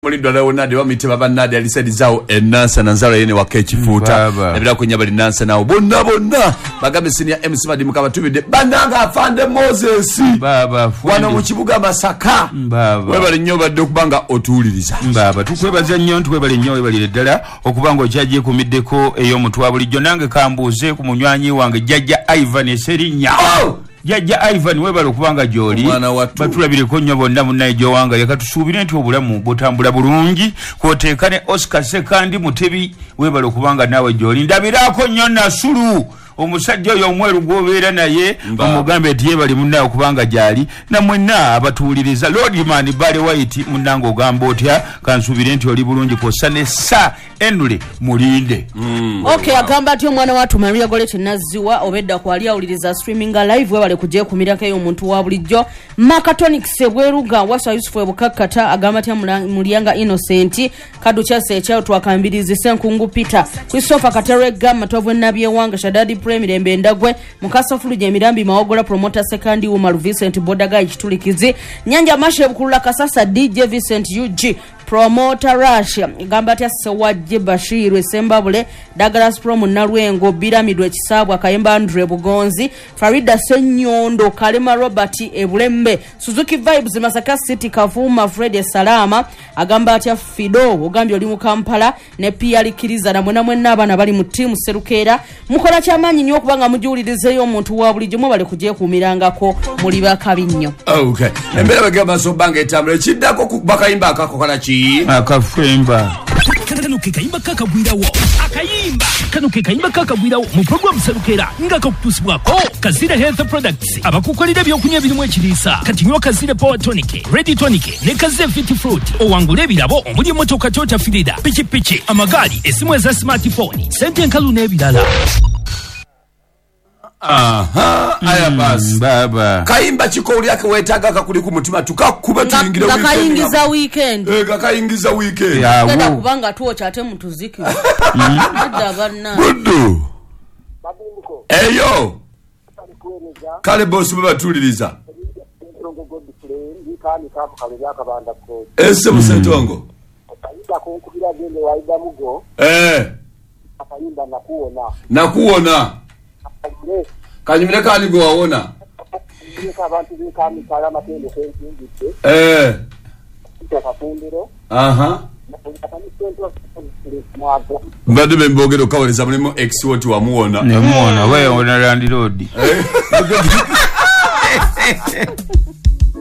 Mulindwa Leonard bamuyite baba Nadi alisaidizawo enansa nanzala yene waka ekifuuta nabira kunya bali nansa nawo bonna bonna bagambe senior MC Madimuka batubidde bannanga afande Moses baba wano mu kibuga Masaka webale nnyo badde okubanga otuwuliriza. Baba tukwebaza nnyo, tukwebale nnyo, webalire ddala okubanga okyagyeekumiddeko ey'omuntu wa bulijjo. Nange kambuuze ku munywanyi wange Jjajja Ivan Eserinnya. Oh! Jjajja Ivan webale okubanga gy'oli, Omwana wattu. Batulabireko nnyo bonna munnaye gy'owanga. Leka tusuubire nti obulamu butambula bulungi. Kwoteeka ne Oscar Sekandi Mutebi, webale okubanga naawe gy'oli. Ndabiraako nnyo Nasulu, omusajja oyo omweru gw'obeera naye, omugambe nti yeebale munnaye okubanga gy'ali. Namwenna abatuwuliriza, Lordman Barry White munnange ogamba otya? Kansuubire nti oli bulungi, kw'ossa ne Sir Henry Mulinde. Okay, agamba atya omwana wattu Maria Goretti Nazziwa obedda kwali awuliriza streaminga live, webale kugyekumirako eyo omuntu wa bulijjo. Makatonics ebweruga Waswa Yusufu ebukakkata agamba atya Mulyanga Innocent Kadukyase ekyayo twakambirizi Ssenkungu Peter Christopher Kateregga Matovu Nabyewanga Shadadi Premirembe Ndagwe Mukasa Fuluje Emirambi Mawogola Promoter Sekandi Umaru Vincent Bodaga Kitulikizi Nyanja Mashe Bukulula Kasasa DJ Vincent UG Promoter Rush gamba atya Sewajje Bashir Sembabule Douglas Promo Nalwengo Biramidwe Kisabwa Kayemba Andre Bugonzi Farida Senyondo Kalema Robert Ebulembe Suzuki Vibes Masaka City Kavuma Fred Salama agamba atya Fido ogambye oli mu Kampala ne PR Kiriza na mwena mwenna abaana bali mu team Serukeera mukola kyamaanyi nnyo okubanga mujuwulirizeeyo omuntu wa bulijjo mwebale kugyekuumirangako muli bakabi nnyo. Okay. Embeera bagamba so banga etambula ekiddako kukuba kayimba akakokola ki? Akafemba. Kano ke kayimba kakagwirawo akayimba kano ke kayimba kakagwirawo mu program Serukeera nga kakutuusibwako Kazira Health Products abakukolera ebyokunywa ebirimu ekiriisa. Kati nywa Kazira Power Tonic, Ready Tonic ne Kazira Fit Fruit owangule ebirabo omuli emmotoka Toyota Firida, pikipiki, amagaali, essimu eza smartphone, sente enkalu n'ebirala. Aha, aya basi. Baba. Kayimba kiko ulyake weetaaga kakuli ku mutima tukakube tuyingire Nga weekend. kayingiza weekend. Kakayingiza weekend. Yawo. Genda kubanga twokya ate mutuziki. Nedda banna. Buddu. Eyo. Kale bosi bwe batuwuliriza. Ese Musentongo. Nakuwona. Kanyumire kani gwe wawona. Aha. Mbadde be mbogera okawuliriza mulimu ex woti wamuwona. Nemuwona, wewe ona landlord.